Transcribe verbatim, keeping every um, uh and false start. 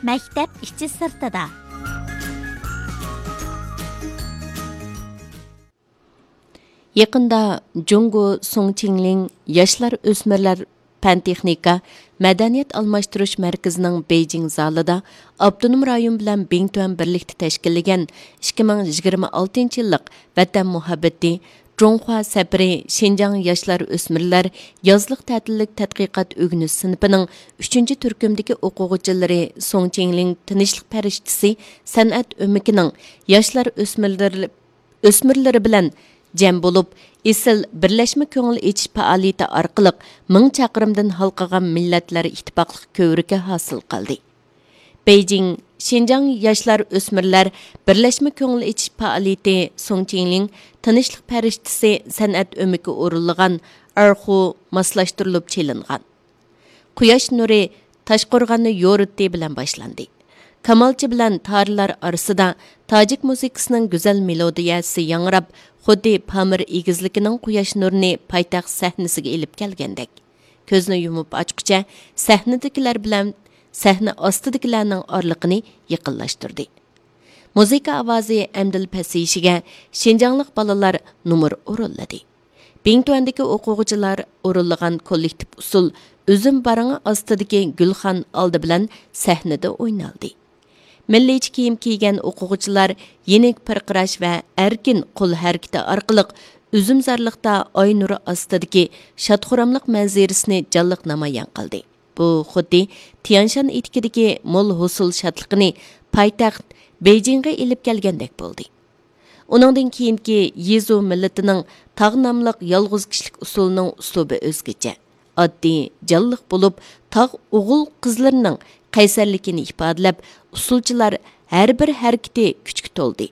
مەكتەپ ئىچى سىرتىدا. يېقىندا جۇڭگو سۇڭچىڭلىڭ ياشلار ئۆسمۈرلەر پەن تېخنىكا مەدەنىيەت ئالماشتۇرۇش مەركىزىنىڭ بېيجىڭ زالىدا ئاپتونوم رايون بىلەن بىڭتۈەن بىرلىكتە تەشكىللىگەن ئىككى مىڭ يىگىرمە ئالتىنچى يىللىق ۋەتەن مۇھەببىتى، جۇڭخۇا سەپىرى شىنجاڭ ياشلار ئۆسمۈرلەر يازلىق تەتىللىك تەتقىقات ئۆگىنىش سىنىپىنىڭ ئۈچىنچى تۈركۈمدىكى ئوقۇغۇچىلىرى سۇڭ چىڭلىڭ تىنچلىق پەرىشتىسى سەنئەت ئۆمىكىنىڭ ياشلار ئۆسمۈرلىرى، ئۆسمۈرلىرى بىلەن جەم بولۇپ، ئېسىل بىرلەشمە كۆڭۈل ئېچىش پائالىيىتى ئارقىلىق مىڭ چاقىرىمدىن ھالقىغان مىللەتلەر ئىتتىپاقلىق كۆۋرۈكى ھاسىل قىلدى. بېيجىڭ، شىنجاڭ ياشلار ئۆسمۈرلەر بىرلەشمە كۆڭۈل ئېچىش پائالىيىتى سۇڭ چىڭلىڭ تىنچلىق پەرىشتىسى سەنئەت ئۆمىكى ئورۇنلىغان ئارخۇ ماسلاشتۇرۇلۇپ چېلىنغان. قۇياش نۇرى تاشقورغاننى يورۇتتى بىلەن باشلاندى. كامالچى بىلەن تارىلار ئارىسىدا تاجىك مۇزىكىسىنىڭ گۈزەل مېلودىيەسى ياڭراپ، خۇددى پامىر ئېگىزلىكىنىڭ قۇياش نۇرىنى پايتەخت سەھنىسىگە ئېلىپ كەلگەندەك. كۆزنى يۇمۇپ ئاچقۇچە سەھنىدىكىلەر بىلەن سەھنە ئاستىدىكىلەرنىڭ ئارىلىقىنى يېقىنلاشتۇردى. مۇزىكا ئاۋازى ئەمدىلا پەسىيىشىگە شىنجاڭلىق بالىلار نومۇر ئورۇنلىدى. بىڭتۈەندىكى ئوقۇغۇچىلار ئورۇنلىغان كوللېكتىپ ئۇسسۇل ئۈزۈم بارىڭى ئاستىدىكى گۈلخان ئالدى بىلەن سەھنىدە ئوينالدى. مىللىيچە كىيىم كىيگەن ئوقۇغۇچىلار يېنىك پىرقىراش ۋە ئەركىن قول ھەرىكىتى ئارقىلىق ئۈزۈمزارلىقتا ئاي نۇرى ئاستىدىكى شادخۇراملىق مەنزىرىسىنى جانلىق نامايان قىلدى. بۇ خۇددى تيەنشان ئېتىكىدىكى مول ھوسۇل شادلىقىنى پايتەخت بېيجىڭغا ئېلىپ كەلگەندەك بولدى. ئۇنىڭدىن كېيىنكى يىزۇ مىللىتىنىڭ تاغ ناملىق يالغۇز كىشىلىك ئۇسسۇلىنىڭ ئۇسلۇبى ئۆزگىچە، ئاددىي، جانلىق بولۇپ، تاغ ئوغۇل-قىزلىرىنىڭ قەيسەرلىكىنى ئىپادىلەپ، ئۇسسۇلچىلار ھەر بىر ھەرىكىتى كۈچكە تولدى.